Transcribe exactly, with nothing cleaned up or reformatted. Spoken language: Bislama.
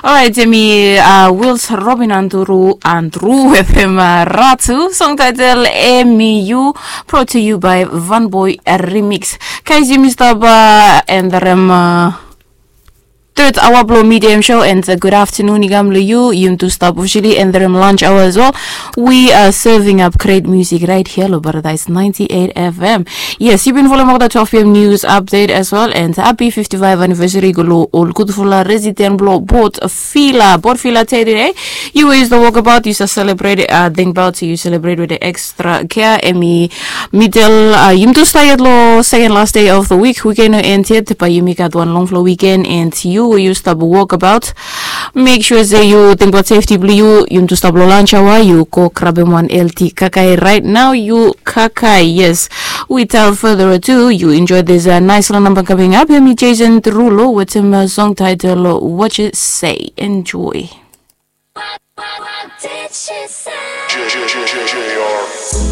Orait, emi Wils Robin Andru Andru wetem Ratu, song title emi Yu, brought to you by Van Boy Remix. Guys, yumi stap enderem third hour blo Medium Show, and good afternoon i kam lo yu. Yumi tu stap officially enderem lunch hour as well. We are serving up great music right here lo Paradise ninety-eight F M. Yes, yu bin folem olgeta twelve p.m. news update as well, and happy fifty-five anniversary go lo ol gudfala resident blo Port Vila, Port Vila today. Yu we yu stap wok abaot, yu stap celebrate, uh, tingbaot yu celebrate with the extra care. Emi middle, uh, yumi tu stap yet lo second last day of the week. Weekend no end yet, bae yumi gat wan longfala weekend, and yu we yu stap wok abaot, make sure se yu tingbaot safety blo yu. Yumi tu stap lo lunch hour, yu go grabem wan healthy kakae right now, yu kakae. Yes, without further ado, yu enjoy this, uh, nice little number coming up. Emi Jason Derulo wetem, uh, song title What You Say. Enjoy. What, what, what did she say? J J J J J R.